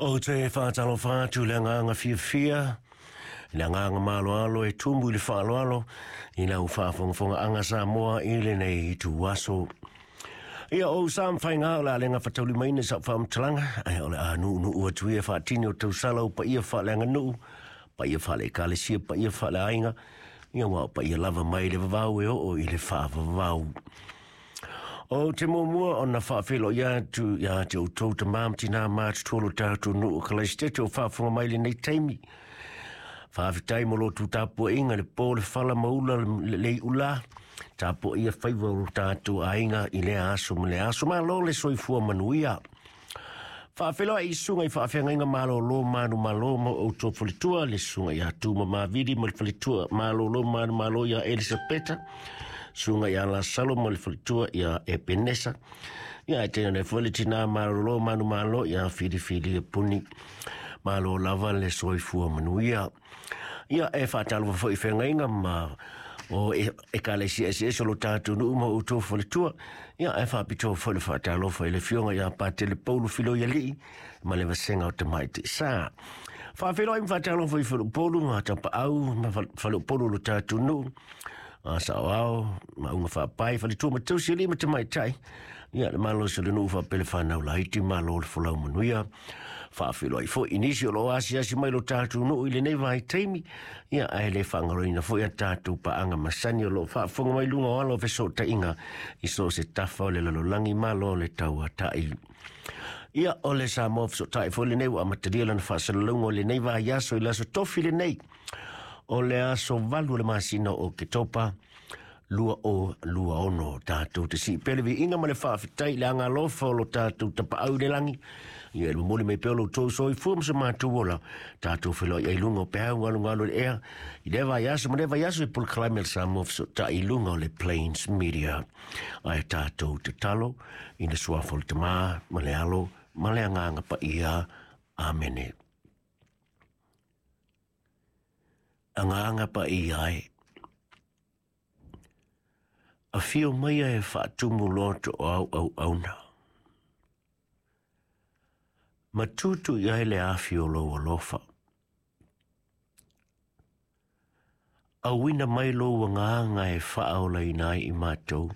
Ou te faatalofa atu i le agaga fiafia, i le agaga maaloalo e tumu i le faaaloalo i lau faafogafogaaga Samoa i lenei ituaso. Ia, o ou sa ma faiga o le a le gafataulimaina i sau faamatalaga, ae o le a nuunuu atu ia faatini o tausala o paia faaleaganuu, paia faale-ekalesia, paia faaleaiga, ia aua o paia lava mai le vavau e oo i le faavavau. Ou te muamua ona faafeiloai atu ia te outou tamā ma tinā matutua o lo tatou nuu o Kalaisiteto o faafofoga mai i lenei taimi. Faafetai mo lo outou tapuaiga i le po, le fala ma ula le leiula, tapuaia faiva o lo tatou aiga i lea aso ma lea aso. Malo le soifua manuia. Faafeiloai i susuga i faafeagaiga malolo manumalo ma outou faletua, le susuga ia Tuma Mavili ma le faletua malolo manumalo ia Elisapeta, susuga ia Lasalo ma le faletua ia Epenesa, ia e tēnei foi le tinā malolo manumalo ia Filifili Puni. Malo lava le soifua manuia. Ia e faatalofa foi i feagaiga ma o ekalesia eseese o lo tatou nuu ma outou faletua. Ia e faapitoa foi le faatalofa i le afioga ia Patele Paulo Filoialii ma le vasega o Tamaitai Sa. Faafeiloai ma faatalofa i Faleupolu ma Tapaau ma Faleupolu o lo tatou nuu, a saoao, maauga faapai, faletua ma tausi alii ma tamaitai. Ia le malosi o le nuu faapea le fanau laiti, malo le folau manuia. Faafeiloai foi i nisi o lo o asiasi mai lo tatou nuu i lenei vaitaimi. Ia ae le faagaloina foi a tatou paaga masani o lo o faafofoga mai luga o ala o fesootaiga i so o se tafa o le lalolagi, malo le tauatai. Ia o le Samoa Fesootai foi lenei ua amatalia lana faasalalauga o lenei vaiaso i le aso tofi lenei o le aso 8 o le masina o Oketopa 2026. Tatou te sii pea le viiga ma le faafetai i le agalofa o lo tatou tapaau i le lagi. Ia e momoli mai pea o lo outou soifua ma so matou ola. Tatou feiloai ai luga o peau galugalu i le ea i lea vaiaso ma lea vaiaso i polokalame a le Samoa Fesootai i luga o le Plains Media. Ae tatou tatalo i le suafa o le Tamā ma le Alo ma le Agaga Paia. Amene. Agaga Paia e. Afio maia e faatumu loto o au auauna. Ma tutu i ai le afi o lou alofa. Auina mai lou agaga e faaolaina ai i matou.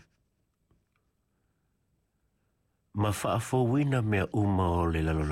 Ma faafouina mea uma o le lalolagi.